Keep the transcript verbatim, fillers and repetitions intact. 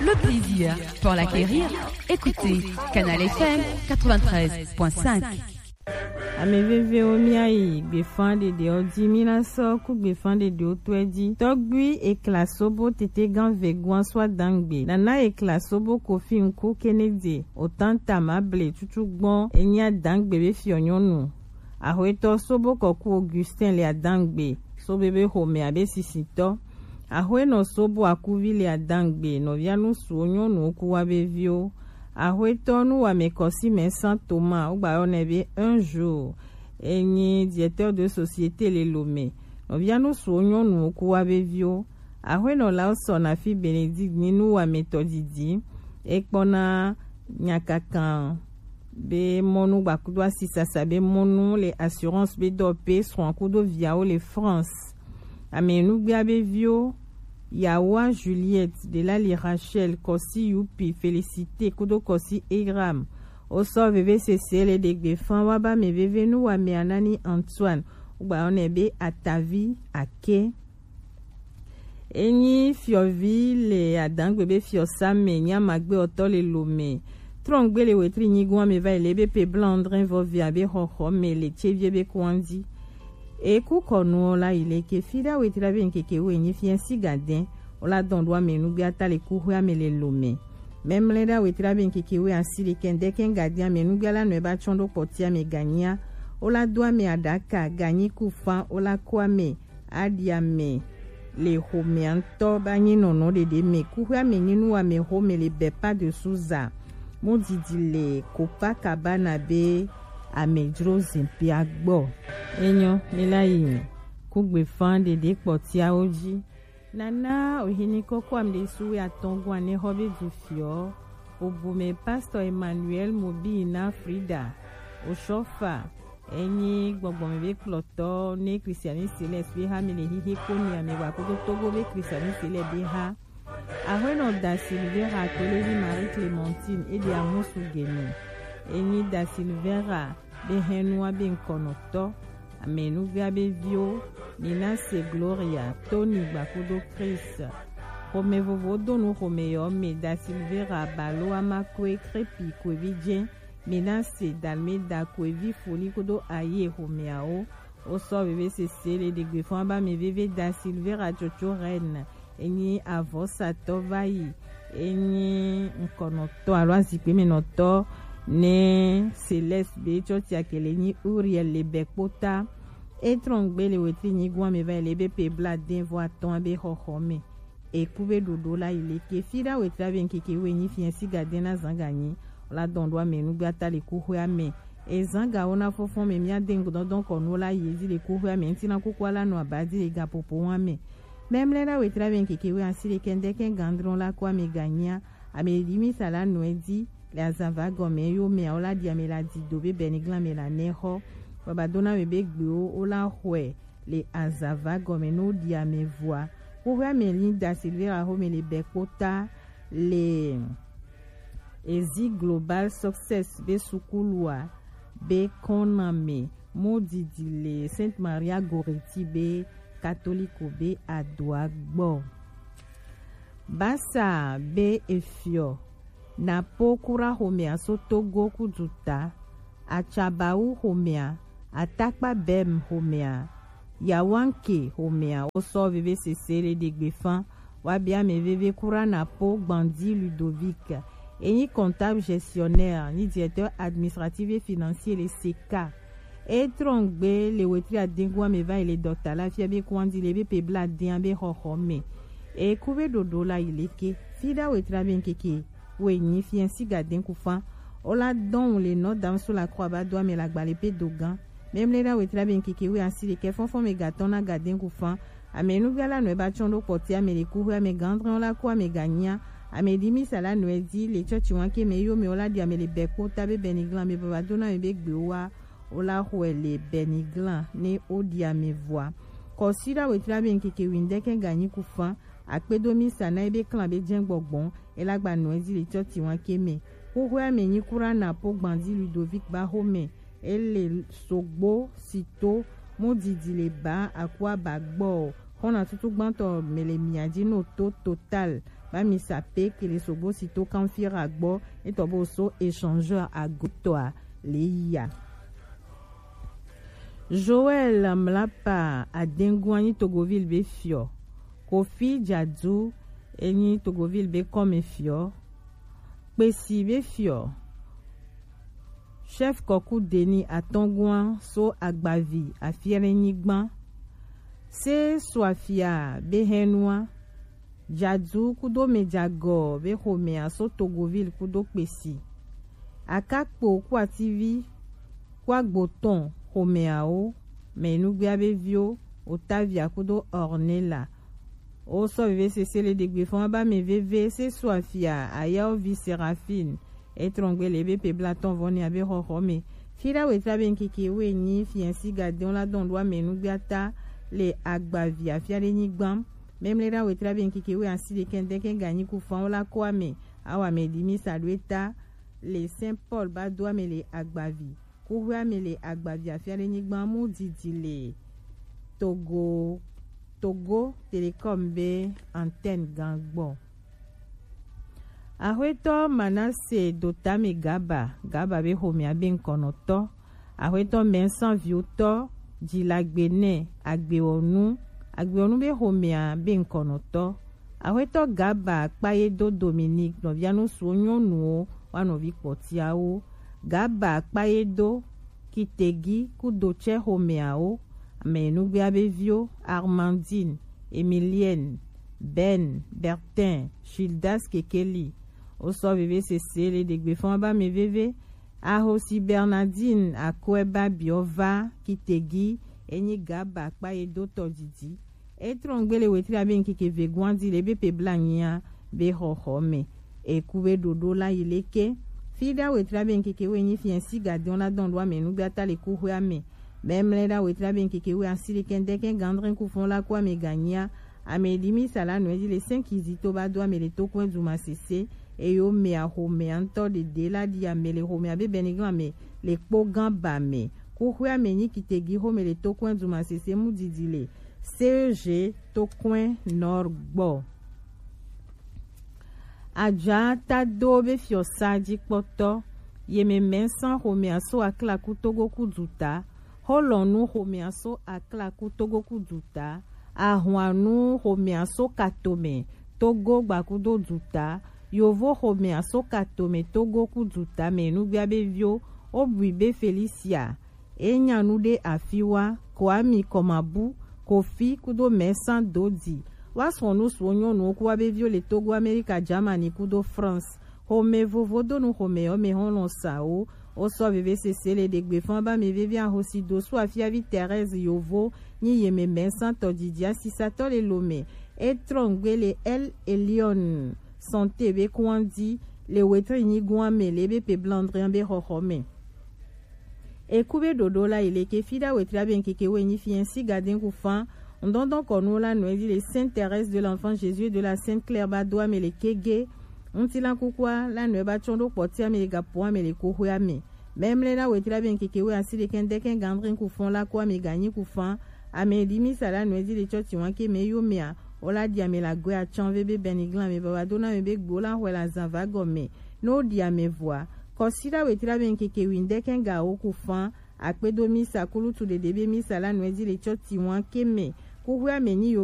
Le plaisir pour l'acquérir, écoutez Canal F M quatre-vingt-treize point cinq. Ame vevewo, míayi gbefan ɖeɖewo ji, mína sɔ ku gbefan ɖeɖewo tɔɛ ji. Tɔgbui Ekla Sobo Tetegan Vegoan sɔ adangbe. Nana Ekla Sobo Kofi Nku Kenedze, Otanta Mable Tutu Gbɔn, enyi adangbe be fiɔ nyɔnu. Axwetɔ Sobo Kɔku Augustin le adangbe, Sobo be xomɛ abe sisitɔ. Axwenɔ Sobo Akuvi le adangbe, nɔvia nusuwo nyɔnuwo ku wa be viwo. Axwetɔ Nuwame Kɔsimɛ San Toma, wogba yɔ nɛ be un jour. Enyi directeur de société le Lomé. Nɔvia nusuwo nyɔnuwo ku wa be viwo. Axwenɔ Lawson Afi Benedict nyi nuwametɔ didi. Ekpɔna nyakakan be mɔnu gbakudo asisasa be mɔnu le assurance be dɔ pe srɔ̃a kudo viawo le France. Ame nugbea be viwo, Yawa Juliette, Delali Rachel, Kɔsi Yupi, Félicité kudo Kɔsi Egram. Wosɔ veve sese le ɖegbe fan wa ba ame veve nu wa ame Anani Antoine. Wogba yɔ nɛ be Atavi Ake. Enyi fiɔvi le adangbe be fiɔ Same, nyi amagbe ɔtɔ le Lomé. Trɔngbe le wetri nyigun ame va yi le be pe blanc André vɔ via be xɔxɔ me le tsevie be kɔn ji. Eku kɔnuwo la yi le ke fi ɖa wetri be nkeke wo enyi fia si gadɛn. Wo la dɔn ɖo ame nugbe ata le kuxwe ame le Lomé. Mɛmlɛ ɖa wetri be nkeke wo asi le kɛndɛ kɛn gadɛn ame nugbe la nɔ eba tsɔn ɖo kpɔti ame ganyia. Wo la do ame aɖaka ganyi ku fan wo la ko ame aɖi ame le xomea ŋutɔ ba nyi nɔnɔ ɖeɖe me. Kuxwea me nyi nuwame xome le Bepa de Souza. Mudidi le Copacabana be amedzro zipia gbɔ. Enyɔ, mi la yi kugbe fan ɖeɖe kpɔtiawo ji. Nana ohini kɔkɔ ame ɖe suwe atɔn gɔn ane xɔ be du fiɔ. Obume Pastor Emmanuel Mobi na Frida. Osɔfa. Enyi gbɔgbɔme be kplɔtɔ ne Christianiste le be ha mi le hihi ko mi ame wa kodo Togo be Christianiste le be ha. Ahuenɔ da Silvera Tolevi Marie Clémentine e de amusu gene. Enyi da Silvera be henua be nkɔnɔtɔ. Amenuvia be viwo, Ninase Gloria, Tony Gbakudo Chris. Xome vovo donu xome yɔ me da Silvera Balo Amakwe Krepi Kwevi Jɛn. Minase Dalmeda Kwevi Foli kodo Aye xomeawo. Wosɔ veve sese le ɖegbe fɔn aba me veve da Silvera Tsotso Reine. Enyi avɔsatɔ va yi. Enyi ŋkɔnɔtɔ alo azikpemenɔtɔ ne Celeste be tsɔtsi akele nyi Uriel le bɛ kpota. Etrɔn gbe le wetri nyigun ame va yi le be pe bla den vɔ atɔn be xɔxɔ me. Eku be ɖoɖo la yi leke fi ɖa wetri abe ŋkeke wo enyi fiɛ si ga den na zan ga nyi. Wo la dɔn ɖo ame nugbe ata le kuxwe ame. Ezan ga wo na fɔfɔn me mia den dɔndɔn kɔ nu wo la yi ezi le kuxwe ame ŋti na kuku ala nɔ aba di le ga popo wa me. Mɛmlɛ ɖa wetri abe ŋkeke wo asi le kɛndɛ kɛ gandrɔn la ko ame ga nyia. Ame ɖi mi sa la nɔ edi le azan va gɔme yo me wo la ɖi ame la di do be bɛ ni glan me la nɛ xɔ. Baba dona me be gbe wo wo la xɔe le azava gɔme no ɖi ame vɔa. Xoxoe ame li da Silvera xome le bɛ kpota le Ezi Global Success be sukulua be kɔname mo didi le Sainte Maria Goretti be katoliko be adoa gbɔ. Basa be efiɔ na po kura xomea so Togo kudu ta. Atsabawu xomea, Atakpa Bem xomea, Yawanke xomea, wo sɔ veve sese le ɖegbe fan. Wa bia ame veve kura na po Gbandi Ludovic. Enyi comptable gestionnaire, ni directeur administratif et financier le seka. E trɔn gbe le wetri adengu ame va yi le dɔkta la fia be kuandi le be pe bla den be xɔxɔ me. E ku be ɖoɖo la yi leke. Fi ɖa wetri abe ŋkeke. Wo enyi fiɛ si ga den ku fan. O la dɔn le nɔ dam so la kɔ aba do ame la gba le pe dogan. Mɛmlɛ ɖa wetri abe ŋkeke wo asi le kɛ fɔnfɔn me ga tɔn na ga den ku fan. Ame nuvia la nɔ eba tsɔn ɖo kpɔti ame le ku hwe ame gandrɛn la ko ame ga nyia. Ame ɖi mi sa la nɔ edi le tsɔtsi wan ke me yo me o la ɖi ame le bɛ kpota be bɛ ni glan me baba do na me be gbe wa. Wo la xɔe le Bɛniglan ne woɖi ame vɔa. Kɔsiɖa wetri abe ŋkeke wiŋdɛkɛ ganyi ku fan. Akpedo mi sa na ebe klan be jɛn gbɔgbɔn. Ela gba nɔ ezi le tsɔti wan ke me. Xoxoe ame nyi kura na po Gbandi Ludovic ba xome. Ele sogbo sito mo didi le ba akua ba gbɔ. Xɔna tutu gbãtɔ mele mia dzi no to Total ba mi sa pe kele sogbo si to Kanfira gbɔ etɔ bo so échangeur ago tɔa le ya. Joël Mlapa Adengua nyi Togoville be fiɔ. Kofi Dzadu enyi Togoville be kɔme fiɔ. Kpesi be fiɔ. Chef Kɔku Deni Atɔngua so Agbavi Afiɛnɛ nyigban. Se Suafia be hɛnua. Dzadu kudo Mejagɔ be xomɛa so Togoville kudo Kpesi. Akakpo ku ativi ku agbotɔn xomɛawo mɛ nugbea be viwo Otavia kudo Ornella. Wo sɔ veve sese le ɖegbe fɔn ba mɛ veve se Suafia ayawo vi Seraphine. Etrɔngbe le ebe pe blatɔn vɔ ne abe xɔxɔ me. Fi ɖa wetra be ŋkeke we nyi fiɛnsi gadɛn la dɔn ɖo ame nugbea ta le Agbavi Afiɛnɛ nyigban. Mɛmlɛ ɖa wetra be ŋkeke we asi ɖekɛ ŋdɛkɛ ganyi ku fan wo la ko ame. Awa me ɖi mi sa ɖo eta le Saint Paul ba do ame le Agbavi. Kuxwea me le Agbavi Afiɛnɛ nyigban mu didi le Togo, Togo Telecom be antenne gan gbɔ. Axwetɔ Manase Dotame Gaba, Gaba be xomɛa be ŋkɔnɔtɔ. Axwetɔ Mɛnsan Viotɔ, Jilagbe nɛ, Agbewɔnu, Agbewɔnu be xomɛa be ŋkɔnɔtɔ. Axwetɔ Gaba Kpayedo Dominique, nɔvia nusuwo nyɔnuwo, wa nɔvi kpɔtiawo. Gaba Kpayedo Kitegi kudo tsɛ xomɛawo, ame nugbea be viwo, Armandine, Emilienne, Ben, Bertin, Gildas Kekeli. Wo sɔ veve sese le ɖegbe fɔn ba mɛ veve. Ahosi Bernardine Akoeba Biova Kitegi enyi Gaba Kpayedo tɔ didi. Etrɔngbe le wetra be ŋkeke ve guandi le be pe bla nyia be xɔxɔ me. Eku be ɖoɖo la yi leke. Fi ɖa wetra be ŋkeke we nyi fiɛnsi gadɛn la dɔn ɖo ame nugbea ta le kuxwea me. Mɛmlɛ ɖa wetra be ŋkeke we asi ɖekɛ ŋdɛkɛ gandrin ku fɔn la ko ame ganyia. Ame ɖi mi sa la nɔɛ dzi le sɛn kizi to ba do ame le to kɔɛ duma sese. Eyo mɛ axomɛa ŋtɔ ɖeɖe la ɖi ame le xomɛa be bɛniglan me le kpo gan ba me. Kuxwea me nyi Kitegi xome le to kɔɛ duma sese mu didi le C E G Tokɔe Nord gbɔ. Adza Tado be fiɔsa dzikpɔtɔ, Yememɛnsan xomɛa so Aklaku Togo ku duta, Xolɔnu xomɛa so Aklaku Togo ku duta, Ahwanu xomɛa so Katome Togo gbakudo duta, Yovo xomɛa so Katome Togo ku duta mɛ nugbea be vio, Obui be Felicia, Enya nu ɖe afi wa, Kwami Kɔmabu, Kofi kudo Mɛsan Dodi. Wa srɔ̃ nu suɔ nyɔnuwo ku wa be viwo le Togo, Amerika, Germany kudo France. Xome vovo do nu xome yɔ me hɔn lɔn sa wo. Wo sɔ veve sese le ɖegbe fɔn ba me veve ahosi do su afiavi Thérèse Yovo nyi Yememɛnsan tɔ didi asisatɔ le Lome. Etrɔngbe le El Elion Santé be kuandi le wetre nyigun ame le be pe blandrian be xɔxɔ me. Eku be ɖoɖo la yi leke fi ɖa wetra be ŋkeke we nyi fiɛnsi gadɛn ku fan. Ŋdɔndɔn kɔnu la nɔɛ dzi le Sainte Thérèse de l'Enfant Jésus et de la Sainte Claire ba do ame le kege. Ŋutilan kukua la nɔɛ ba tsɔn ɖo kpɔti ame le gapo ame le koxwe ame. Mɛmlɛ la wetra be ŋkeke we asi ɖekɛ ŋdɛkɛ gandrin ku fan la ko ame ganyi ku fan. Ame ɖi mi sa la nɔɛ dzi le tsɔtsi wan ke me yo mea. O la ɖi ame la gwe atsan ve be bɛniglan me baba do na me be gbo la xwe la zan va gɔme. No ɖi ame vɔa. Kɔsi la wetra be ŋkeke we ŋdɛkɛ ga wo ku fan. Akpedo misa kulutu ɖeɖe be misa la nɔɛ dzi le tsɔtsi wan ke me. Kuxwe ame nyi yo